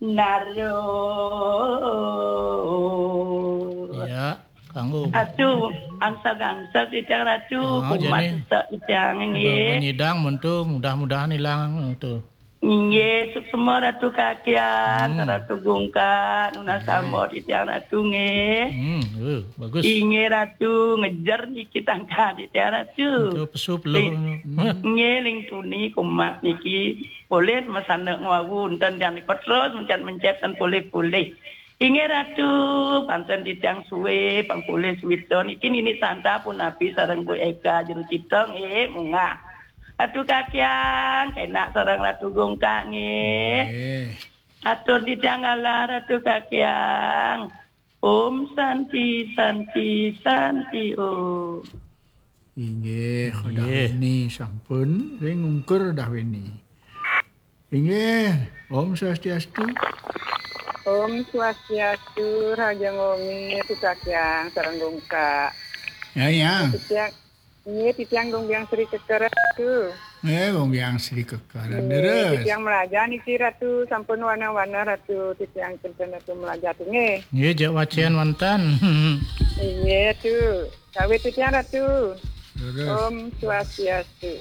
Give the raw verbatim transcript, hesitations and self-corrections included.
Naro. Ya, kanggo. Aduh, angsal-angsal titiang Ratu, Oh, kumat jane. Sesak titiang nggih. Nyidang muntu mudah-mudahan hilang tu. Nggih, suksma Ratu Kakian, Hmm. Ratu Gungkak, nunas sama titiang Ratu nggih. Hmm, eh, bagus. Inggih Ratu, ngejer niki tangka titiang Ratu. Tu pesu peluh. Nggih, ling tuni kumat niki. Polih masana ngwawu enten tiang nika terus mencet-mencet ten polih-polih. Inggih Ratu, panten titiang suwe pang polih suwita niki Nini Santa punapi sareng Bu Eka jero cita nggih munggah. Ratu Kakian, kenak sareng Ratu Gungkak nggih. Eh, Atur titiang ngalah Ratu Kakian. Om Santi Santi Santi Om. Inggih, Inggih. Dahwini sampun ring ungkur Dahwini. Inggih, Om Swastiastu. Om Swastiastu, Raja Ngomi, Sukakyang, sareng Gungkak. Ya, ya. Titiang, nggih, titiang Gungbiang Sri Keker Ratu. Eh, Gungbiang Sri Keker. Nggih, Leres. Titiang melajah niki Ratu, sampun wana-wana Ratu, titiang kinten Ratu melajah tu nggih. Nggih, jak wacian wonten. Inggih tu. Kawit titiang Ratu. Leres. Om Swastiastu.